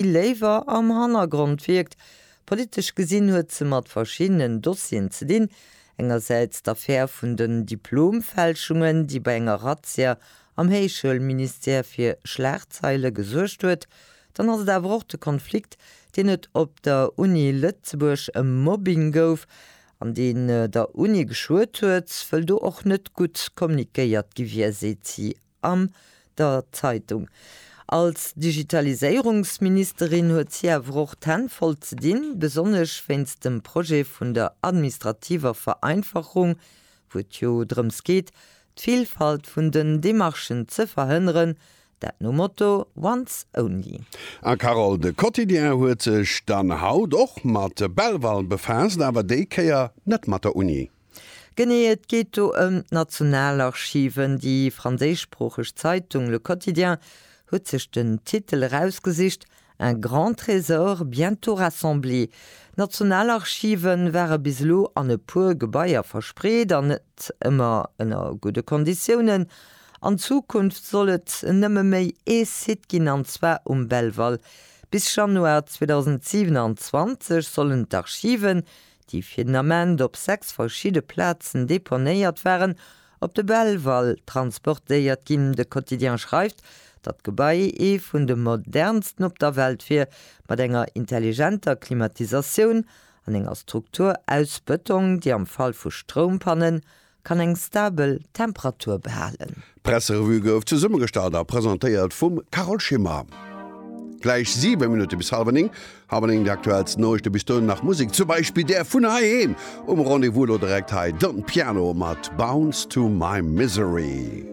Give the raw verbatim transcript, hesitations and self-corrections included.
Léiwer am Hannergrond wierkt. Politesch gesinn huet se mat verschiddenen Dossieren ze dinn, engersäits d'Affär vun den Diplomfälschungen, déi bei enger Razzia am Héichschoulministère fir Schlagzeile gesuergt huet, dann ass et awer och de Konflikt, deen et op der Uni Lëtzebuerg ëm Mobbing gouf, an deen der Uni geschuet huet, wëll do och net gutt kommunikéiert gi wier, seet si an der Zeitung. Als Digitaliséierungsministerin huet si awer och d'Hänn voll ze dinn, besonnesch wéinst dem Projet vun der administrativer Vereinfachung, wou et jo drëms geet, d'Villfalt vun den Demarchen ze verhënneren, dat nom Motto Once Only. A Carole, de Quotidien huet sech dann haut och mat Belval befaasst, awer déi Kéier net mat der Uni. Genee, et geet do ëm d'Nationalarchiven. Déi franséischsproocheg Zeitung Le Quotidien huet sech den Titel erausgesicht, Un grand trésor bientôt rassemblé. D'Nationalarchive ware bis elo an e puer Gebaier verspreet an net ëmmer ënner gudde Konditiounen. An Zukunft soll et nëmme méi ee Site ginn, an zwar um Belval. Bis Januar zweedausendsiewenanzwanzeg sollen d'Archiven, déi fir den Ament op sechs verschidde Plazen deponéiert waren, op de Belval transportéiert ginn. De Quotidien schreift, datt d'Gebai ee vun de modernsten op der Welt wier, mat enger intelligenter Klimatisatioun an enger Struktur aus Bëtong, déi am Fall vu Stroumpannen kann eng stabel Temperatur behalen. D'Presserevue gouf zesummegestallt a presentéiert vum Carole Schimmer. Gläich siwe Minutte bis hallwer néng. Hallwer néng déi aktuellsten Noriichte, bis dohin nach Musek, zum Beispill där vun heiheem um Rendez-vous, elo direkt hei Don Piano mat Bounce to my Misery.